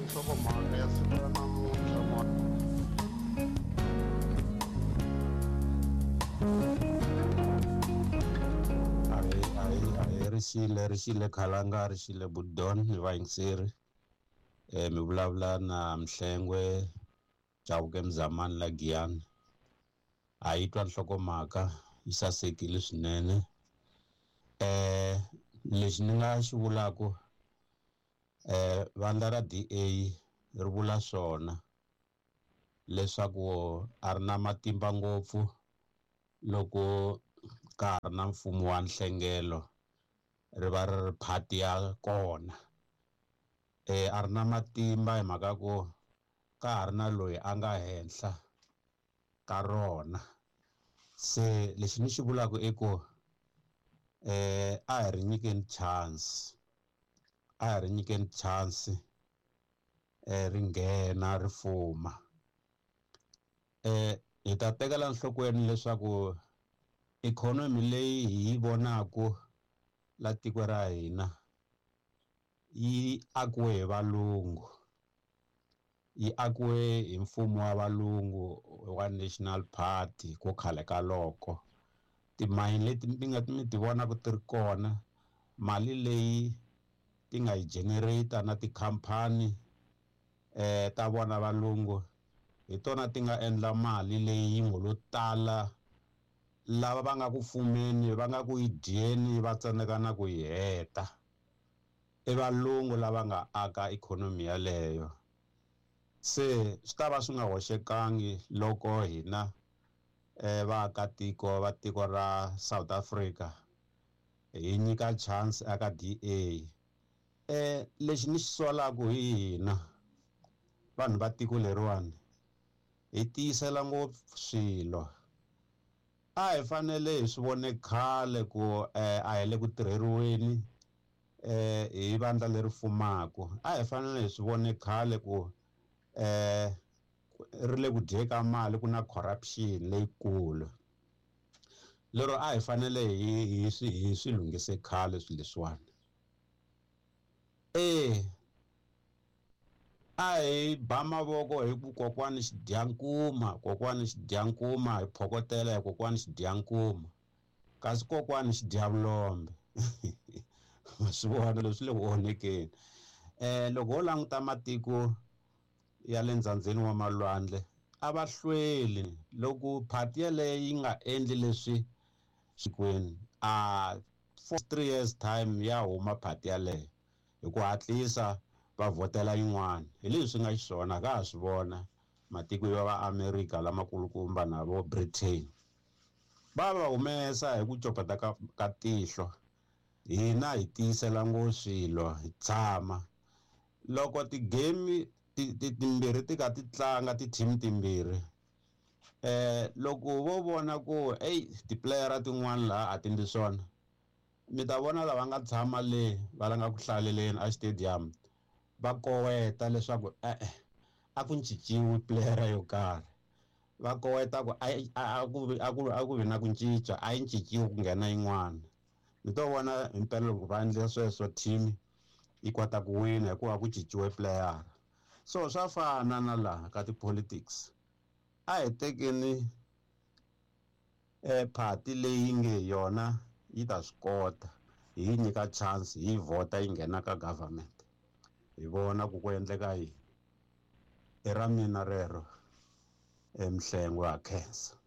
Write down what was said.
Nhlokomhaka ya siku ra namuntlha ma. Ahi ahi ahi rixile rixile khalanga rixile budon ni vayingiseri mi vulavula na Mhlengwe Chauke Mzamani la Giyani. A yi twa nhlokomhaka yi sasekile swinene. Lexi ni nga xi vulaku vandla ra DA ri vula swona leswaku a ri na matimba ngopfu loko ka ha ri na mfumo wa nhlengelo ri va ri ri party ya kona. A ri na matimba hi mhaka ku ka ha ri na loyi a nga henhla ka rona. Se lexi ni xi vulaka i ku a hi ri nyikeni chance, a hi ri nyikeni chance ri nghena ri fuma. Hi ta tekela enhlokweni leswaku ikhonomi leyi hi yi vonaku la tiko ra hina yi akiwe hi valungu, yi akiwe hi mfumo wa valungu wa National Party ku khale ka loko. Timayini leti mi nga mi ti vonaka ti ri kona, mali leyi ti nga yi generator na tikhampani ta vona valungu hi tona ti nga endla mali leyi yi ngo lo tala lava va nga ku fumeni va nga ku yi dyeni va tsandzeka na ku yi heta. I valungu lava nga aka ikhonomi yaleyo. Se swi ta va swi nga hoxekangi loko hina vaakatiko va tiko ra South Africa hi nyika chance aka DA. Lexi ni xi solaka hi hina vanhu va tiko leriwani hi tiyisela ngopfu swilo. A hi fanele hi swi vone khale ku a hi le ku tirheriweni hi vandla leri fumaka. A hi fanele hi swi vone khale ku ri le ku dyeni ka mali, ku na corruption leyikulu. Lero a hi fanele hi swi lunghise khale swilo leswiwani. A hi ba mavoko hi ku kokwani xidyankuma, kokwani xidyankuma, hi phokotela hi kokwani xidyankuma, kasi kokwani xidyavulombe. Ma swi vona leswi le ku onhekeni. Loko ho languta matiko ya le ndzhandzheni wa malwandle a va hlweli loko party yaleyo yi nga endli leswi xikwenu, a for 3 years time ya huma party yaleyo hi ku hatlisa va vhotela yin'wana. Hi leswi nga xiswona ka ha swi vona matiko ya va America lamakulukumba na vo Britain va va humesa hi ku copeta ka tihlo. Hina hi tiyisela ngopfu swilo, hi tshama loko ti-game timbirhi ti ka ti tlanga ti-team timbirhi, loko vo vona ku ey ti-player tin'wana laha a ti ndli swona, mi ta vona lava nga tshama le va langa ku hlaleleni a stadium va koweta leswaku e-e a ku cinciwi player yo karhi, va koweta ku a ku vi na ku cinca, a yi cinciwi ku nghena yin'wana. Mi to vona hi mpela loko va endla sweswo team yi kota ku wina hikuva ku cinciwe player. So swa fana na laha ka ti-politics, a hi tekeni party leyi nge yona yi ta swi kota, hi yi nyika chance, hi yi vhota yi nghena ka government, hi vona ku ku endleka yini. I ra mina rero, Mhlengwe ha khensa.